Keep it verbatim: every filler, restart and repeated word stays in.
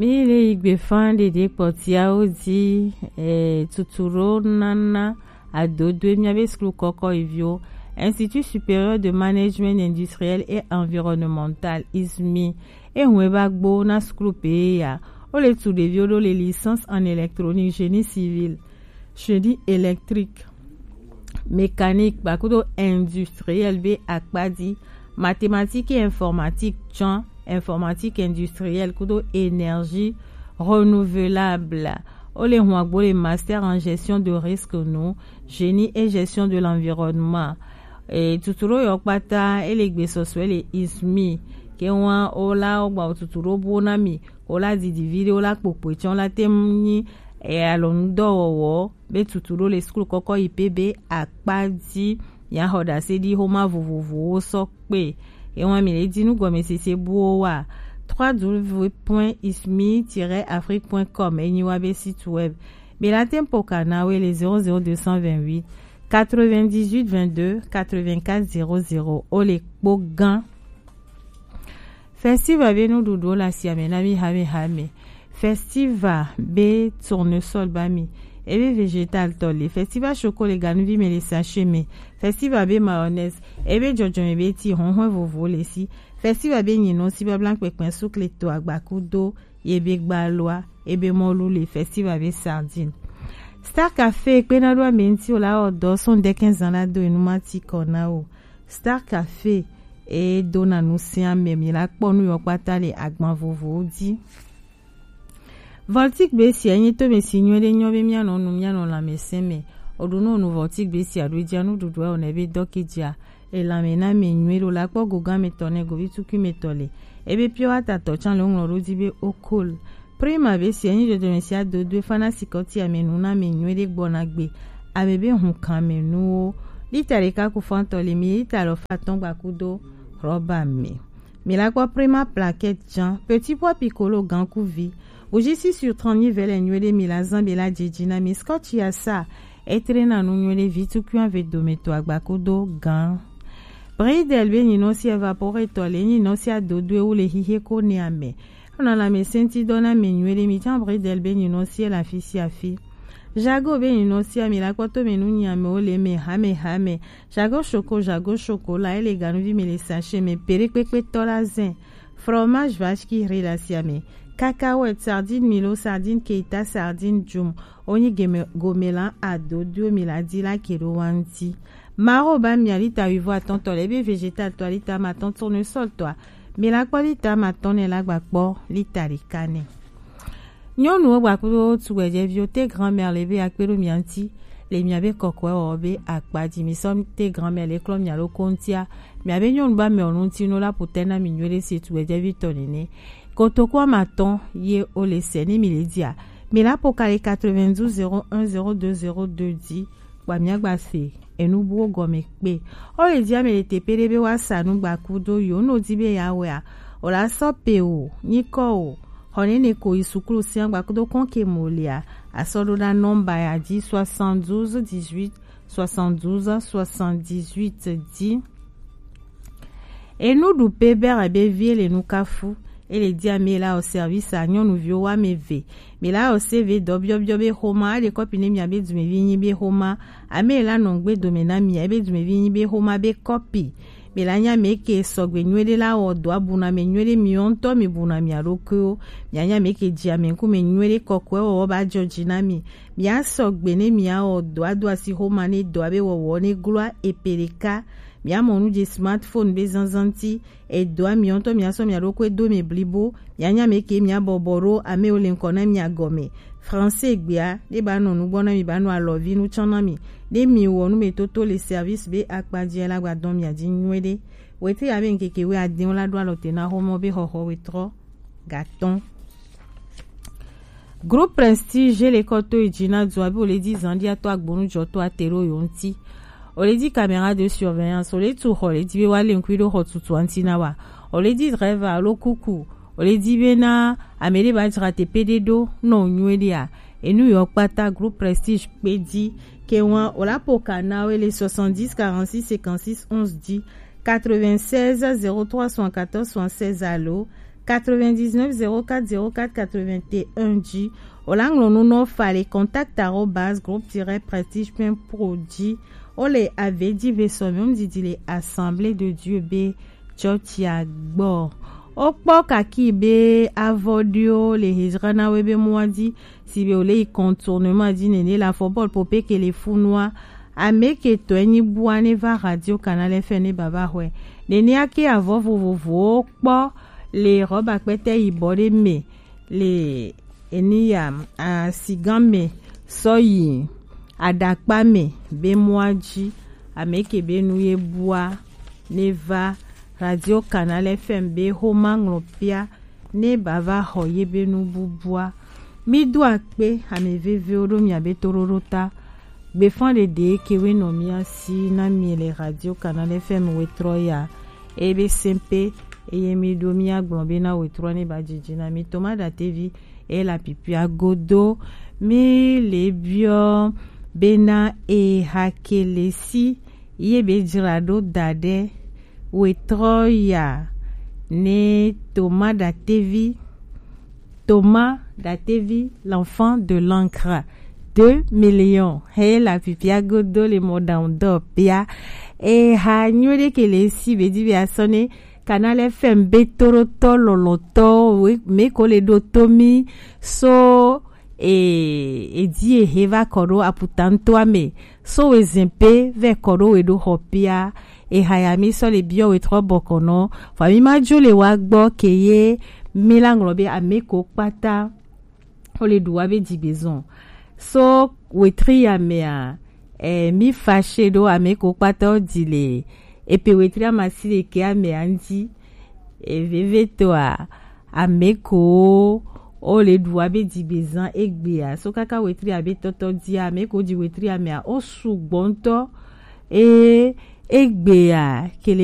Mi le yi gbe fan ɖeɖe kpɔtiawo dzi, eh, tuturo nana adodoe miabe suklu kɔkɔ iviwo. Institut Supérieur de Management Industriel et Environnemental, ismi, ehun eba gbo na suklu pe ya. O le tu ɖeviwo ɖo le licence en électronique, génie civil, génie électrique, mécanique, ba kudo industriel be akpa dzi, mathématique et informatique, tsɔn informatique industrielle kudo énergie renouvelable. O le hun agbo le master en gestion de risque nu, génie et gestion de l'environnement. E tuturo yɔ kpata, e le gbe sɔsɔe le ismi. Ke wan o la o gba o tuturo bo na mi, o la didi vi ɖe, o la kpokpoe tsɔn, o la te ŋu nyi, e alɔnu dɔwɔwɔ be tuturo le sukulu kɔkɔ yi pe be akpa dzi. Mia xɔ ɖase ɖi xoma vovovowo sɔ kpe. Ewan mi le di nu gɔmesese buwo wa, trois w point ismi tiret afrique point com enyi wa be site web. Be la tempo kana we le zéro zéro deux cent vingt-huit quatre-vingt-dix-huit vingt-deux quatre-vingt-quatre zéro zéro. O le kpo gan. Festival be nuɖuɖuwo le asiame na mi hamehame. Festival be tournesol ba mi, ebe végétal tɔ le. Festival choco le ganuvi me le sachet me. Festival be mayonnaise, ebe jɔjɔme be ti hɔnhɔn vovo le si. Festival be nyinɔ si babla kpekpe sukle to agbaku do ye be gbalua, ebe mɔlu le. Festival be sardine. Star Café kpena ɖo ame ŋuti o la wɔ dɔ sɔn dɛkɛn zan la do enu ma ti kɔ na o. Star Café e dona nu sia ame, mi la kpɔ nu yɔ kpata le agban vovowo dzi. Voltic be sia nyi to me si nyuie ɖe nyɔ be mianɔ nu mianɔ lãmesẽ me. O ɖo nu nu Voltic be sia ɖo dzia nuɖuɖu o ne be dɔke dzia. E lãme na me nyuie ɖo la kpɔ gogan me tɔ ne govi tukui me tɔ le. Ebe pure water tɔ tsan le ŋlɔ ɖo dzi be o cool. Prima be sia nyi dodome sia dodo fana sikɔti ame nu na me nyuie ɖe gbɔna gbe. Ame be hun kan me nuwo. Lita ɖeka ku fantɔ le mi lita lɔ fa tɔn gba kudo rɔba me. Mi la kpɔ Prima plaquette jan, petit pois piccolo gan ku vi. Bougie six sur trente nyi vɛlɛ nyuie ɖe mi la zan be la dzidzi na mi scotch ya sa. Etre na nu nyuie ɖe vi tukui ave dome to agba kudo gan. Bridel be nyinɔ si evaporator le nyinɔ si adodo ewu le hihe ko ne ame. Ona la me senti dɔ na me nyuie ɖe mi tsan Bridel be nyinɔ si la fi si afi. Jago be nyinɔ si ami la kpɔtɔ me nu nyi ame wo le me hame hame. Jago shoko, jago shoko la ele ganuvi me le sachet me pere kpekpe tɔ la zen. Fromage vache qui rit la si ame. Cacahuète, sardine Milo, sardine Keita, sardine Jum. Onyi gome, gomelan adodo mi la di la keɖo wanti. Maro ba mi alita wivo atɔntɔ le be végétal tɔ alita ma tɔn tournesol tɔ. Mi la kpɔ lita ma tɔn ne la gba kpɔ lita ɖeka ne. Nyɔnuwo gba kudo tugbɛjɛviwo te grand-mère le be akpe ɖo mia ŋuti le mia be kɔkɔe wɔ be akpa dzi mi sɔ te grand-mère le klɔ mia ɖo kontia. Mia be nyɔnu ba mɛ ɔnu ŋuti no la potɛ na mi nyuie ɖe se tugbɛjɛvi tɔ nene. Kotoku ama tɔn ye o le sɛ ni mi le dia. Mi la po kali quatre-vingt-douze zéro un zéro deux zéro deux di. Kpa mia gba se enu buwo gɔme kpe. O le di ame le tepe ɖe be wa sa nu gba kudo yo no di be ya wɛ a. O la sɔ pe o, nyikɔ o. Xɔ nene ko yi sukulu sia gba kudo kɔn ke mo le a. A sɔ ɖo na nɔmba ya di soixante-douze dix-huit soixante-douze soixante-dix-huit di. Enu ɖu pe bɛrɛ be vie le nu kafu. Ele dia mi la o service a nyɔnuviwo wa me ve. Mi la o se ve dɔ biɔbiɔ be xoma, ale kɔpi ne mia be dumevi nyi be xoma. Ame la nɔ gbe dome na mia be dumevi nyi be xoma be kɔpi. Mi la nya me ke sɔgbe nyuie ɖe la wɔ dɔ abuna me nyuie ɖe mi ŋutɔ mi buna mia ɖokuiwo. Mia nya me ke dzi ame ŋkume nyuie ɖe kɔkɔe wɔwɔ ba dzɔ dzi na mi. Mia sɔgbe ne mia wɔ dɔ ado asi xoma ne dɔ abe wɔwɔ ne gloa epe ɖeka. Mia mɔ nu dzi smartphone be zanzan ti. Edo ami ŋutɔ mia sɔ mia ɖokui do mi blibo. Mia nya me ke mia bɔbɔ ɖo ame wo le ŋkɔ na mia gɔme. Français gbea ne ba nɔ nugbɔ na mi ba nɔ alɔvi nu tsɔn na mi. Ne mi wɔ nu me toto le service be akpa dzi la gba dɔn mia dzi nyuie ɖe. Wete ya be ŋkeke we adin la ɖo alɔ te na xɔmɔ be xɔxɔ we trɔ gatɔn. Groupe Prestige le kɔ to edzi na du abe o le di zan ɖi atɔ agbonu dzɔ to ate ɖo yo ŋuti. O le di caméra de surveillance, o le tu xɔ le di be wa le ŋkui ɖo xɔ tutu ŋuti na wa. O le di driver alo kuku, o le di be na ame ɖe ba dzra teƒe ɖe ɖo nɔ nyuie ɖea. Enu yɔ kpata Groupe Prestige kpe di ke wa o la po ka na we le soixante-dix quarante-six cinquante-six onze di quatre-vingt-seize zéro trois soixante-quatorze soixante-seize alo quatre-vingt-dix-neuf zéro quatre zéro quatre quatre-vingt-un ji. O la ŋlɔ nu nɔ fa le contact arobase groupe tiret prestige point pro ji. O le ave ji ve sɔ mi didi le Assemblée de Dieu be chɔchia gbɔ. O kpɔ kaki be avɔ ɖewo le hezra na we be mɔa ji, si be o le yi contournement ji nene la fɔ bɔl pope ke le funua. Ame ke tɔe nyi bua ne va Radio Canal F M ne baba hɔe. Nene ake avɔ vovovowo kpɔ le rɔba kpɛtɛ yibɔ ɖe me le eniya asigan me sɔ yi aɖakpa me be mɔa ji. Ame ke be nu ye bua ne va Radio Canal F M be xoma ŋlɔ pia ne bava xɔ ye be nu bubua. Mi do akpe ame vevewo ɖo miabe toɖoɖo ta. Gbefan ɖeɖe ke we nɔ mia si na mi le Radio Canal F M wetrɔ ya. Ebe sempe eye mi ɖo mia gblɔ be na wetrɔ ne ba dzidzi na mi toma ɖatevi e la pipia godo mi le biɔ bena e hakele si ye be dzra ɖo da ɖe wetrɔ ya ne toma ɖatevi Thomas Datevi, l'enfant de l'encre. Deux millions. He la pipia godo le mɔɖaŋudɔ pia. E ha nyuie ɖe ke le si be di be asɔ ne Canal F M be toɖotɔ lɔlɔtɔ we me ko le ɖo to mi so e edi ehe va kɔ ɖo aputantoa me so we zin pe vɛ kɔ ɖo we ɖo xɔ pia. Eha ya mi sɔ le biɔ wetrɔ bɔkɔnɔ. Fa mi ma dzo le wa gbɔ ke ye mi la ŋlɔ be ame ko kpata o le ɖu wa be dzigbezɔn so wetri ya mea. E mi fa she ɖo ame ko kpata o di le epe wetri amasi ɖeke amea ŋdi. E veve toa ame ko o le ɖu wa be dzigbezan egbea so kaka wetri abe tɔtɔ dia ame ko di wetri amea o sugbɔ ŋutɔ. E egbea ke le